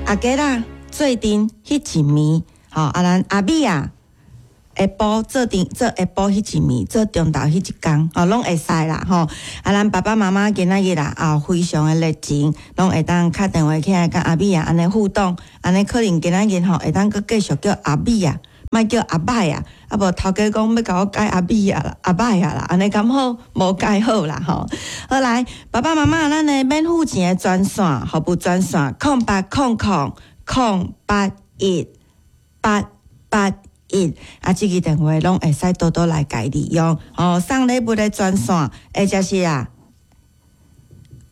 阿家啦做陣彼一暝，吼啊，咱阿美啊下晡做陣做下晡彼一暝，做中晝彼一工，吼攏會使啦，吼。啊，咱爸爸媽媽今仔日啦，啊，非常的熱情，攏會當敲電話起來佮阿美啊按呢互動，按呢可能今仔日吼會當閣繼續叫阿美啊，莫叫阿歹啊，啊無頭家講欲共我改阿美啊啦，阿歹啊啦，按呢敢好？無改好啦吼。好來，爸爸媽媽，咱的免付錢的專線，服務專線0800 081 881，啊，這支電話攏會使多多來共利用哦。送禮物的專線，或者是啊，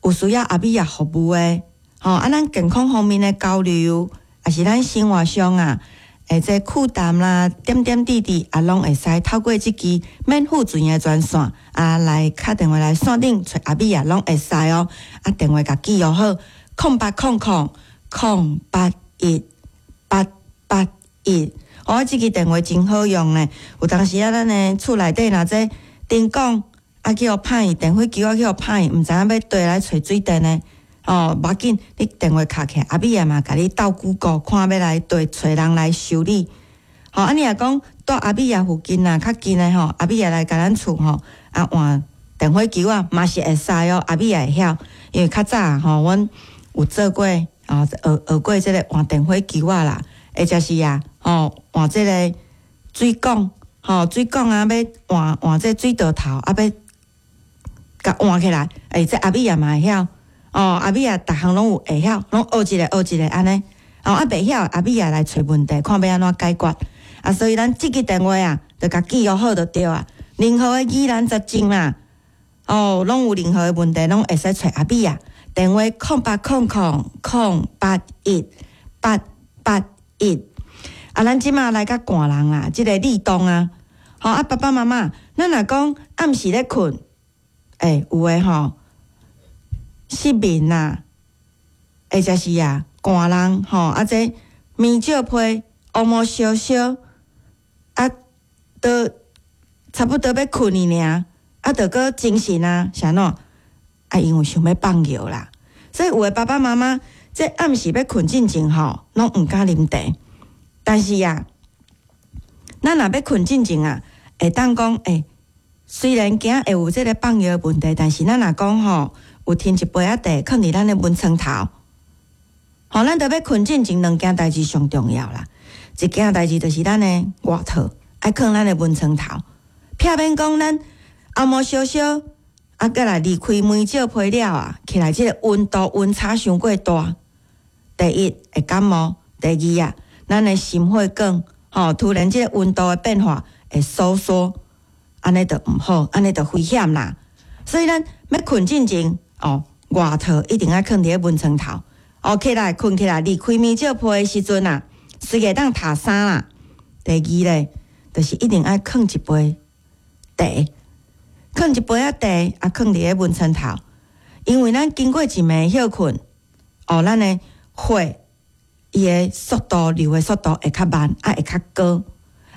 有需要阿美仔服務的，吼啊，咱健康方面的交流，抑是咱生活上啊，會這負擔啦，點點滴滴啊，攏會使透過這支免付錢的專線啊，來敲電話來線頂揣阿美仔，攏會使哦。啊，電話共記錄好，0800 081 881。哦，這支電話真好用呢。有當時啊，咱的厝內底若這燈管啊去予歹去，電火球仔去予歹去，毋知影欲綴來揣水電的。哦，無要緊，你電話敲起來，阿美仔嘛共你鬥 Google 看欲來綴揣人來修理。吼，啊，你若講蹛阿美仔附近啊，較近的吼，阿美仔來共咱厝吼，啊換電火球仔嘛是會使哦，阿美仔會曉，因為較早吼，阮有做過，哦，學學過這个換電火球仔啦，或者是啊，吼換這个水管，吼水管啊，欲換換這水道頭，啊欲共換起來，欸，這阿美仔嘛會曉。哦，阿美仔逐項攏有會曉，攏學一个學一个按呢。哦，啊袂曉，阿美仔來揣問題，看欲按怎解決。啊，所以咱這支電話啊，著共記錄好就對啊。任何的疑難雜症啦，哦，攏有任何的問題，攏會使揣阿美仔。電話0800 081 881。啊，咱這馬來較寒人啦，這个立冬啊，吼啊，爸爸媽媽，咱若講暗時咧睏，欸，有的吼。失眠啊，或者是啊，寒人吼，啊這棉罩被烏毛燒燒，啊，都差不多欲睏去爾，啊，著閣精神啊，是按怎？啊，因為想欲放尿啦，所以有的爸爸媽媽這暗時欲睏進前吼，攏毋敢啉茶。但是啊，咱若欲睏進前啊，會當講欸，雖然驚會有這个放尿的問題，但是咱若講吼，有添一杯仔茶，囥佇咱的門床頭，吼，咱著欲睏進前兩件代誌上重要啦。一件代誌就是咱的外套愛囥咱的門床頭，避免講咱紅毛燒燒，啊，閣來離開棉罩被了啊，起來這个溫度溫差傷過大。第一會感冒，第二啊，咱的心血管吼，突然這个溫度的變化會收縮，按呢就毋好，按呢就危險啦。所以咱欲睏進前。哦，外套一定愛囥佇咧門床頭。哦，起來睏起來，離開棉罩被的時陣啊，隨會當脫衫啦。第二咧，就是一定愛囥一杯茶，囥一杯仔茶啊，囥佇咧門床頭。因為咱經過一暝歇睏，哦，咱的血伊的速度流的速度會較慢，啊會較高。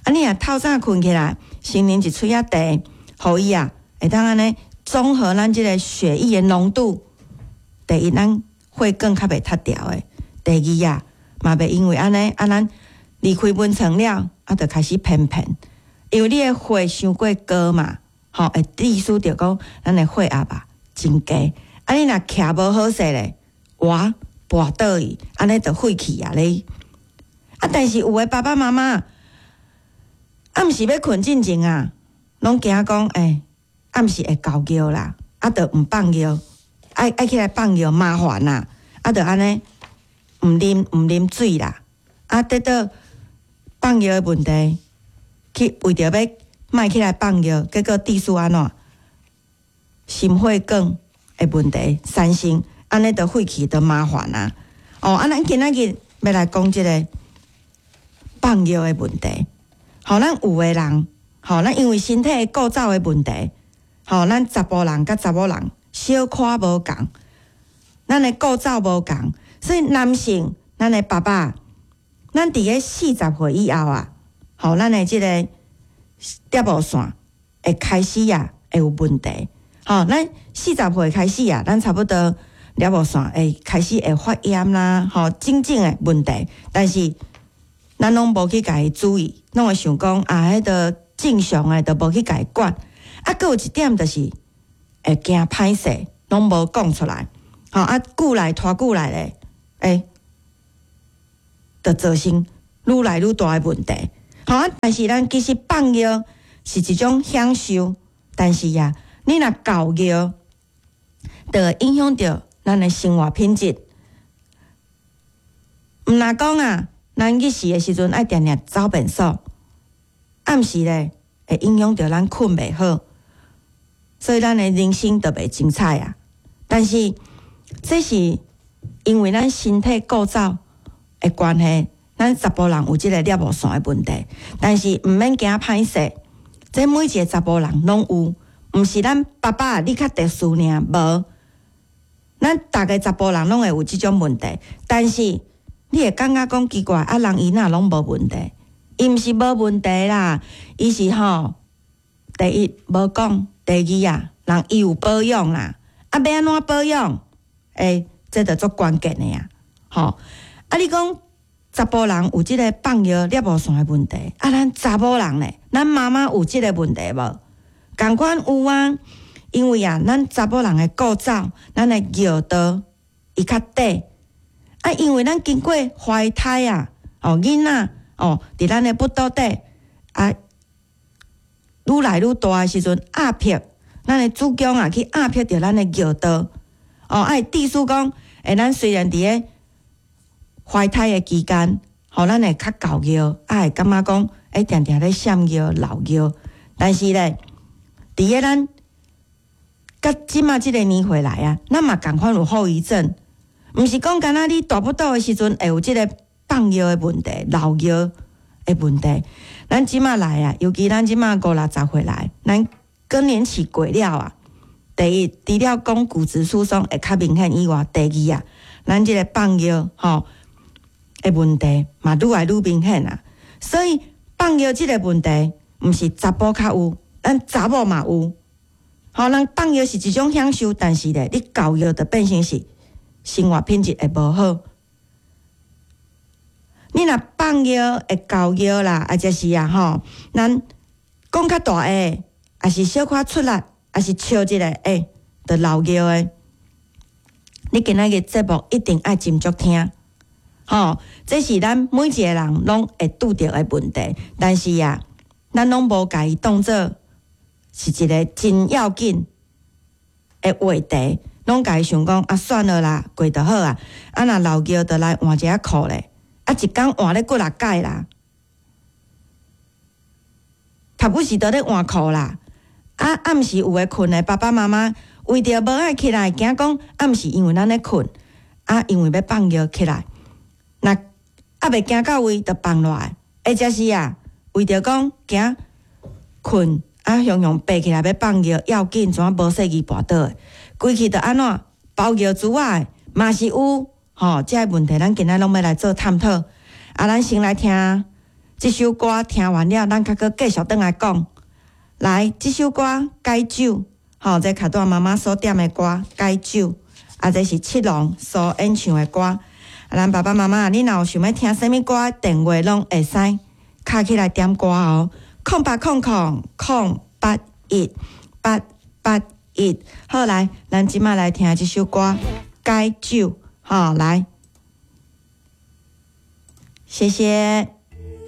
啊，你若透早睏起來，先啉一喙仔茶，予伊啊會當按呢。綜合咱這个血液的濃度，第一，咱血管較袂塌掉的；第二啊，嘛袂因為按呢，啊，咱離開門床了，啊，就開始偏偏，因為你的血傷過高嘛，吼，會致使著講咱的血壓啊真低。啊，你若徛無好勢咧，哇，跋倒去，按呢就廢去啊咧。啊，但是有的爸爸媽媽暗時欲睏進前啊，攏驚講欸。暗時會猴尿啦，啊，就毋放尿，愛愛起來放尿麻煩啦，啊，就按呢毋啉毋啉水啦，啊，得到放尿的問題，去為著欲莫起來放尿，結果致使按怎？心血管的問題產生，按呢就廢去就麻煩啊。哦，啊，咱今仔日欲來講這个放尿的問題。吼，咱有的人，吼，咱因為身體構造的問題。吼，咱查埔人佮查某人小可無仝，咱的構造無仝，所以男性，咱的爸爸，咱佇咧40歲以後啊，吼，咱的這个攝護腺會開始啊，會有問題。吼，咱四十歲開始啊，咱差不多尿無線會開始會發炎啦，吼，種種的問題，但是咱攏無去共伊注意，攏會想講啊，彼個正常的，就無去共伊管。啊，閣有一點就是會驚歹勢，攏無講出來，吼啊，久來拖久來咧，欸，就造成愈來愈大的問題。吼啊，但是咱其實放尿是一種享受，但是啊，你若猴尿，就會影響著咱的生活品質。毋若講啊，咱日時的時陣愛定定走便所，暗時咧會影響著咱睏袂好，所以咱的人生就袂精彩啊。但是這是因為咱身體構造的關係，咱查埔人有這个尿無線的問題，但是毋免驚歹勢，這每一个查埔人攏有，毋是咱爸爸你較特殊爾，無，咱逐个查埔人攏會有這種問題，但是你會感覺講奇怪，啊人伊哪攏無問題？伊毋是無問題啦，伊是吼，第一無講，第二啊，人伊有保養啦，啊欲按怎保養？欸，這就足關鍵的啊，吼！啊你講查埔人有這个放尿尿無線的問題，啊咱查某人咧，咱媽媽有這个問題無？仝款有啊，因為啊，咱查某人的構造，咱的尿道伊較短，啊，因為咱經過懷胎啊，哦，囡仔哦，佇咱的腹肚底啊，愈來愈大的時陣，壓迫咱的子宮啊，去壓迫著咱的尿道，哦，啊，意思講，欸，咱雖然佇咧懷胎的期間，予咱會較猴尿，啊會感覺講，欸，定定咧閃尿、漏尿，但是咧，佇咧咱到這馬這个年歲來啊，咱嘛仝款有後遺症，毋是講干焦你大腹肚的時陣會有這个放尿的問題、漏尿的問題。咱這馬來啊，尤其咱這馬五六十歲來，咱更年期過了啊，第一，除了講骨質疏鬆會較明顯以外，第二啊，咱這个放尿吼的問題嘛愈來愈明顯啊。所以放尿這个問題，毋是查埔較有，咱查某嘛有。吼，咱放尿是一種享受，但是咧，你猴尿就變成是生活品質會無好。你若放尿會猴尿啦，啊，者是啊吼，咱講較大下，抑是小可出力，抑是笑一下，欸，就漏尿的。你今仔日節目一定愛斟酌聽，吼，這是咱每一個人攏會拄著的問題，但是啊，咱攏無共伊當做是一个真要緊的話題，攏共伊想講啊，算了啦，過就好啊。啊，若漏尿就來換一下褲咧，啊，一工換咧幾若擺啦，頭不時都咧換褲啦。啊，暗時有的睏的爸爸媽媽為著無愛起來，驚講暗時因為咱咧睏，啊，因為欲放尿起來，若猶未行到位就放落來，或者是啊，為著講驚睏啊，雄雄爬起來欲放尿，要緊怎無細意跋倒的，規氣就按怎包尿珠仔的嘛是有吼，這个問題咱今仔攏欲來做探討。啊，咱先來聽這首歌，聽完了，咱較閣繼續轉來講。來，這首歌《解酒》，吼，這卡多媽媽所點的歌《解酒》，啊，這是七龍所演唱的歌。啊，咱爸爸媽媽，你若有想欲聽啥物歌，電話攏會使敲起來點歌哦。0800 081 881。好，來，咱這馬來聽這首歌《解酒》，好，來，謝謝。